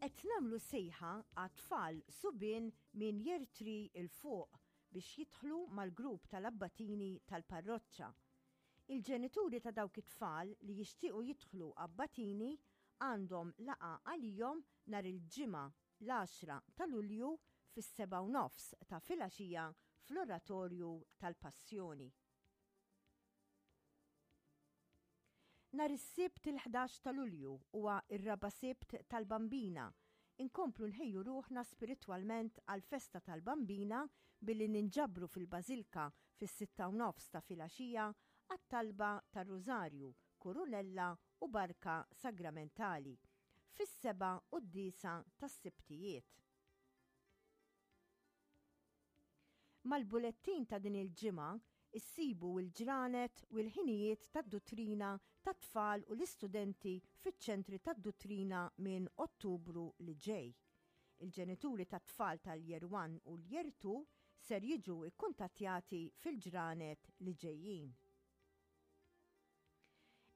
Qed nagħmlu sejħa għat-tfal subien minn Year 3 'il fuq biex jidħlu mal-grupp tal-abbatini tal-parroċċa. Il-ġenituri ta' dawk it-tfal li jixtiequ jidħlu abbatini għandhom laqgħa għalihom nhar il-Ġimgħa l-għaxra ta' Lulju fis-sebgħa u nofs ta' filgħaxija fl-Oratorju tal-Passjoni. Nhar is-Sibt il-11 ta' Lulju huwa r-raba' Sibt tal-Bambina. Inkomplu nħejju ruħna spiritwalment għall-festa tal-Bambina billi ninġabru fil-Bażilka fis-sitta u nofs ta' filgħaxija għat-talba tar-Rużarju, Kurunella u Barka Sagramentali fis-seba' quddiesa tas-Sibtijiet. Mal-bulettin ta' din il-ġimgħa issibu l-ġranet u l-ħinijiet tad-duttrina tat-tfal u l-istudenti fiċ-ċentri tad-duttrina minn Ottubru li ġej. Il-ġenituri tat-tfal tal-Year One u l-Year Two ser jiġu kkuntattjati fil-ġranet li ġejjin.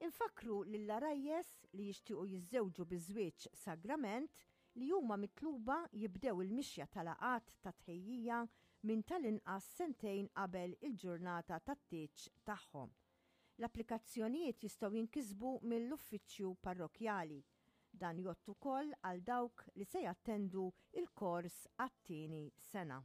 Infakkru lill-għarajjes li jixtiequ jiżżewġu bi żwieġ sagrament li huma mitluba jibdew il-mixja ta' laqgħat ta' tħejjija minn tal-inqas sentejn qabel il-ġurnata tat-tieġ tagħhom. L-applikazzjonijiet jistgħu jinkisbu mill-uffiċċju parrokkjali. Dan jgħodd ukoll għal dawk li se jattendu l-kors għat-tieni sena.